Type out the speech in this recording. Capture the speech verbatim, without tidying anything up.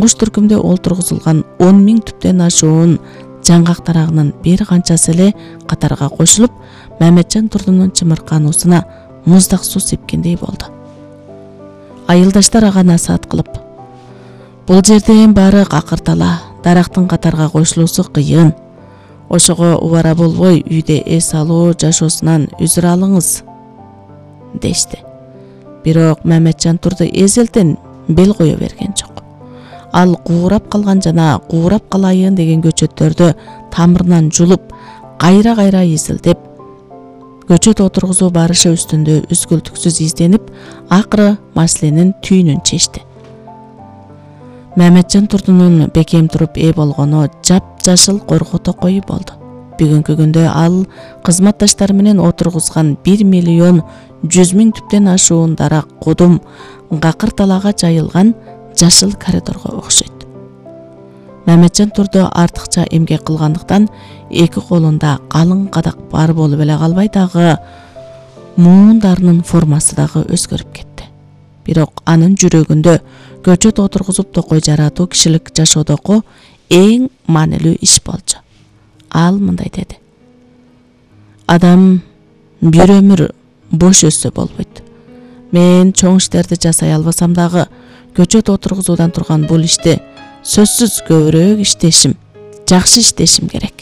куш түркүмдө олтургузулган он миң түптөн ашуун жаңгак тарагынын бир канчасы эле катарга кошулуп, Мамеджан Турдунун чымыркануусуна муздак суу сепкендей болду. Айылдаштар ага насаат кылып: "Бул жерден баары какыртала, дарактын катарга кошулуусу кыйын. Ошого убара болбой, үйдө эс алуу жашоосунан үзүр алыңыз" дешти. Бирок Мамеджан Турду эзелтен бел кое берген жок. Ал куурап калган жана куурап калайын деген көчөттөрдү тамырынан жулуп, кайра-кайра изилдеп, көчөт отургузуу барышы үстүндө үзгүлтүксүз изденип, акыры маселенин түйүнүн чечти. Мамеджан Турдунун бекем туруп ээ болгону жап-жашыл корго токою болду. Бүгүнкү күндө ал кызматташтары менен отургузган бир миллион жүз миң түптөн ашуун дарак кудум какырталага жайылган жашыл коридорго окшойт. Мамеджан Турду артыкча эмгек кылгандыктан эки колунда калың кадак бар болуп эле калбай, дагы муундарынын формасы дагы өзгөрүп кетти. Бирок анын жүрөгүндө көчөт отургузуп токой жаратуу кишилик жашоодогу эң маанилүү иш болчу. Ал мындай деди: "Адам бир өмүр бош өссө болбойт. Мен чоң иштерди жасай албасам дагы, көчөт отургузуудан турган бул ишти сөзсүз көбүрөөк иштешим, жакшы иштешим керек.